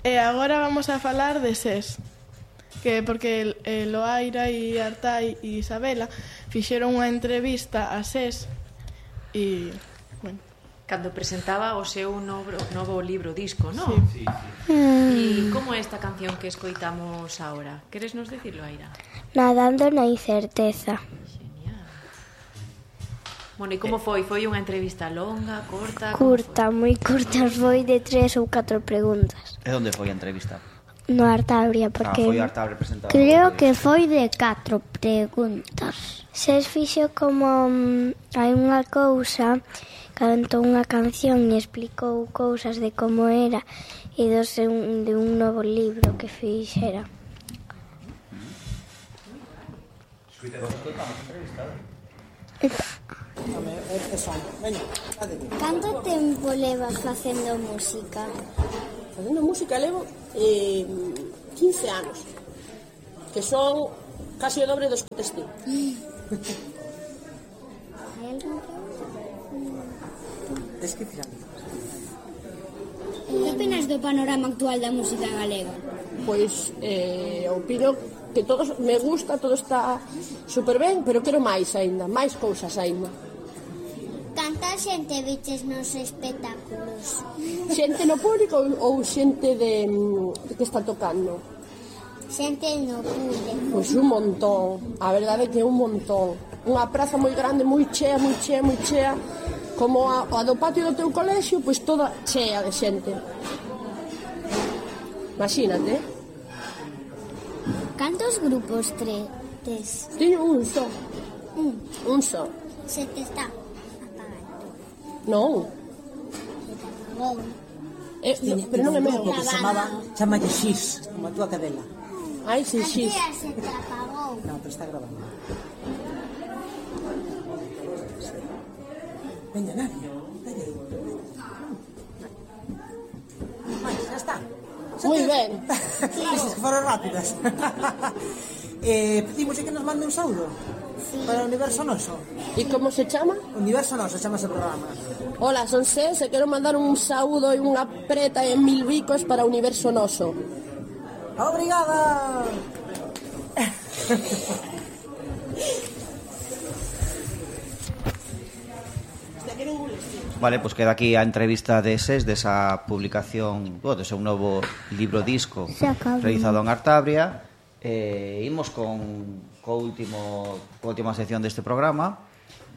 E agora vamos a falar de SES, que porque Loaira e Artai e Isabela fixeron unha entrevista a SES e, bueno, cando presentaba o seu novo libro disco, non? Sí. E como é esta canción que escoitamos agora? Queres nos dicirlo, Aira? Nadando na incerteza. Genial. Bueno, e como foi? Foi unha entrevista longa, corta? Curta, moi curta, foi de 3 ou 4 preguntas. E onde foi a entrevista? No Artabria, porque foi Artabria presentado. creo que foi de 4 preguntas. Se fixo como hai unha cousa, cantou unha canción e explicou cousas de como era e de un novo libro que fixera. Canto tempo levas facendo música? Facendo música levo 15 anos, que son casi o dobre dos que tes ti. Que opinas do panorama actual da música galega? Pois opino que todos me gusta, todo está super ben, pero quero máis aínda, máis cousas aínda. Canta xente viches nos espectáculos? Xente no público ou xente de que está tocando? Xente no público. Pois un montón, a verdade é que un montón. Unha praza moi grande, moi chea, como a do patio do teu colexio, pois toda chea de xente. Imagínate. Cantos grupos tes? Teño un só. Un só. Se te está apagando. Non. Pero non é meu. Chamalle Xis, como a túa cadela. Ai, sí, Xis. Se te apagou. Non, pero está grabando. Veña, Nadia. Xa está. Moi ben. Dices que foron rápidas. Pedimos que nos mande un saúdo para o Universo Noso. E como se chama? Universo Noso chama ese programa. Hola, son SES e quero mandar un saúdo e unha preta en 1000 bicos para o Universo Noso. Obrigada. Vale, pois queda aquí a entrevista de SES, desa publicación, do seu novo libro disco realizado en Artabria. Imos con última sección deste programa,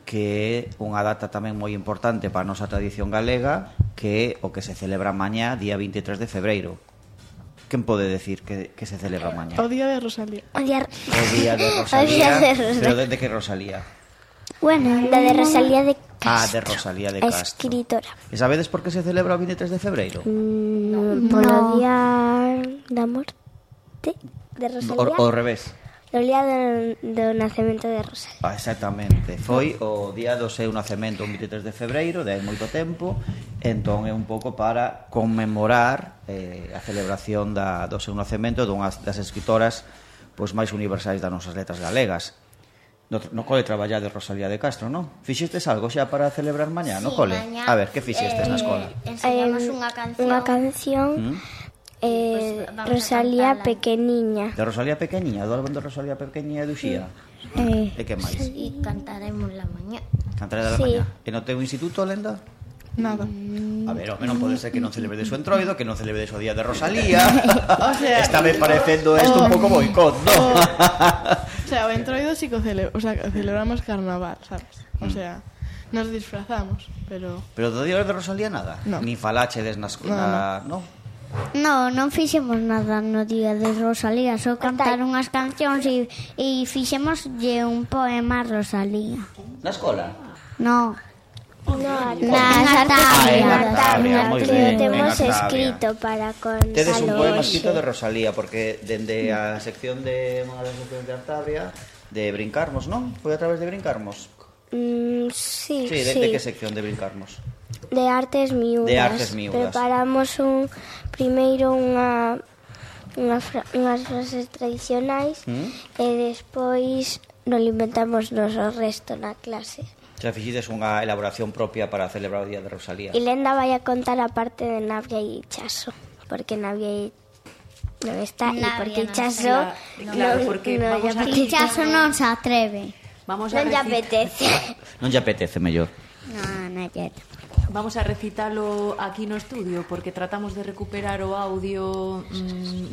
que é unha data tamén moi importante para a nosa tradición galega, que é o que se celebra mañá, día 23 de febreiro. Quen pode decir que se celebra mañá? O día de Rosalía. O día de Rosalía. Pero de que Rosalía? Bueno, da de Rosalía de Castro. De Rosalía de Castro. Escritora. E sabedes por que se celebra o 23 de febreiro? Polo día da morte de Rosalía. Ao revés. O día do nacemento de Rosalía. Exactamente. Foi o día do seu nacemento, o 23 de febreiro, de hai moito tempo. Entón é un pouco para conmemorar a celebración do seu nacemento dunha das escritoras pois máis universais das nosas letras galegas. No cole traballade Rosalía de Castro, non? Fixestes algo xa para celebrar mañá no cole? Mañá, a ver, que fixestes na escola? Enseñamos unha canción Rosalía pequeniña. De Rosalía pequeniña, do álbum de Rosalía pequeniña e Duxía. E que máis? E cantaremos la mañá. Cantaré da mañá. E no teu instituto, Lenda? Nada. A ver, home, non pode ser que non celebredes o entroido, que non celebredes o día de Rosalía. O sea, está me parecendo isto un pouco boicot, non? O sea, o entroido sí que celebramos carnaval, sabes? O sea, nos disfrazamos, pero... Pero do día de Rosalía nada? No. Ni falachedes na escola, non? Non fixemos nada no día de Rosalía, só cantar unhas cancións e fixemoslle un poema a Rosalía. Na escola? No. Na Artabria, que temos escrito para contalos. Tedes un poema escrito de Rosalía, porque dende a sección de unha das seccións de Artabria, de Brincarmos, non? Foi a través de Brincarmos? Sí. De que sección de Brincarmos? De Artes Miúdas. De Artes Miúdas. Preparamos primeiro unhas frases tradicionais e despois non inventamos nos o resto na clase. Xa fixides unha elaboración propia para celebrar o Día de Rosalía. E Lenda vai a contar a parte de Navia e Chaso, porque Navia non está e porque Chaso Claro, porque vamos a Chaso non se atreve. non lle apetece. Non lle apetece, mellor. Non lle. Vamos a recitalo aquí no estudio porque tratamos de recuperar o audio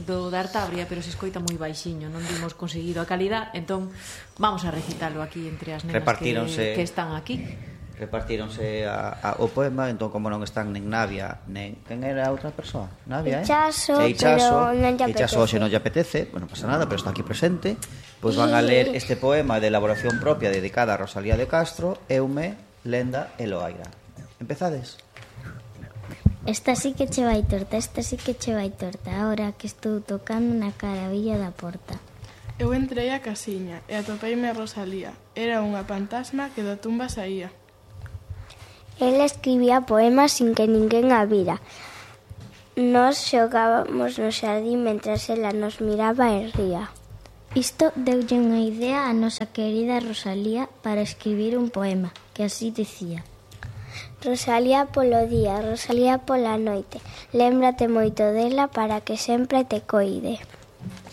do da Artabria, pero se escoita moi baixiño, non dimos conseguido a calidad, entón vamos a recitalo aquí entre as nenas que están aquí. Repartíronse o poema, entón como non están nen Navia, nen quen era a outra persoa? Navia, Chaso, pero non lle apetece. Chaso hoxe non lle apetece, non pasa nada, pero está aquí presente. Pois van a ler este poema de elaboración propia dedicada a Rosalía de Castro, Eume, Lenda e Loaira. Empezades? Esta sí que che vai torta, ahora que estou tocando na caravilla da porta. Eu entrei á casiña e atopeime a Rosalía. Era unha fantasma que da tumba saía. Ela escribía poemas sin que ninguén a vira. Nos xogábamos no xardín mentras ela nos miraba e ría. Isto deulle unha idea a nosa querida Rosalía para escribir un poema, que así dicía: Rosalía polo día, Rosalía pola noite, lémbrate moito dela para que sempre te coide.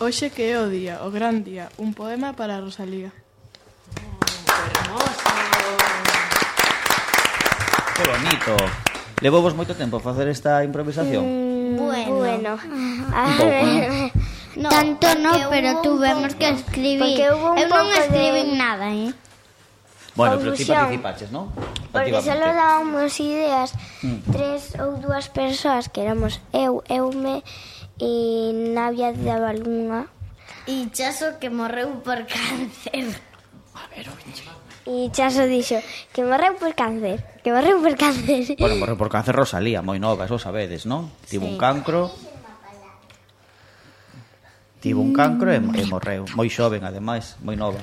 Hoxe que é o día, o gran día, un poema para Rosalía. Hermoso. Que bonito. Levou vos moito tempo a facer esta improvisación? Bueno. No, tanto no, pero tuvemos que escribir. Eu non escribín nada, Bueno, pero ti participaches, non? Porque solo dábamos ideas 3 ou 2 persoas, que éramos Eume e Navia daba algunha. E Chaso que morreu por cáncer. A ver, E Chaso dixo que morreu por cáncer. Bueno, morreu por cáncer Rosalía, moi nova, eso sabedes, non? Tivo un cancro. E morreu. Moi xoven, ademais, moi nova.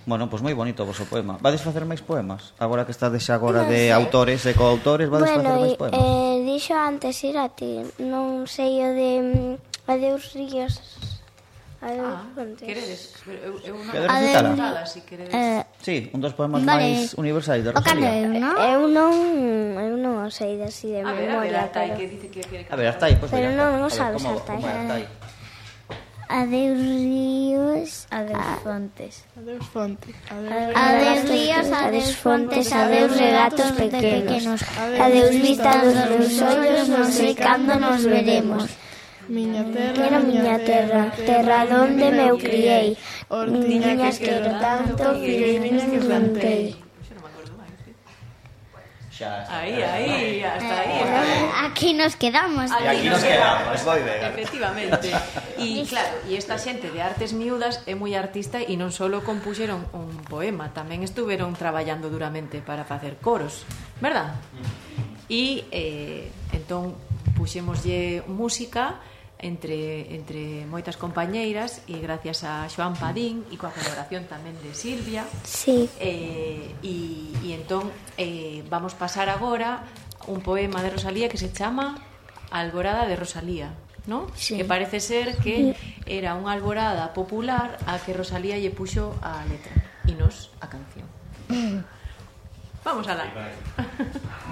Bueno, pois moi bonito o vosso poema. Vades facer máis poemas? Agora que estades xa agora de autores e coautores, vades facer máis poemas? Dixo antes ir a ti, non sei o de Adeus Ríos. Adeus Fontes. Queredes? Eu non Queredes recitala? nada, si queredes. Sí, un dos poemas máis universais de Rosalía. Eu non o sei así de memoria. Artai, que dice que quere A ver, Artai, pois pero non sabes, Artai. Adeus ríos, adeus fontes. Adeus fonte. Adeus ríos, adeus fontes, adeus regatos pequenos. Adeus vista dos meus ollos, non sei cando nos veremos. Miña terra, terra donde me eu criei. Niñas quero tanto, figueiriñas que plantei. Aí, hasta aí. Aquí nos quedamos. Moi ben. Efectivamente. E claro, e esta xente de Artes Miúdas é moi artista e non só compuxeron un poema, tamén estuveron traballando duramente para facer coros, verdad? E entón puxémoslle música entre moitas compañeiras e gracias a Xoán Padín e coa colaboración tamén de Silvia. Sí. E entón vamos pasar agora un poema de Rosalía que se chama Alborada de Rosalía, ¿no? Sí. Que parece ser que era unha alborada popular a que Rosalía lle puxo a letra e nos a canción. Vamos alá.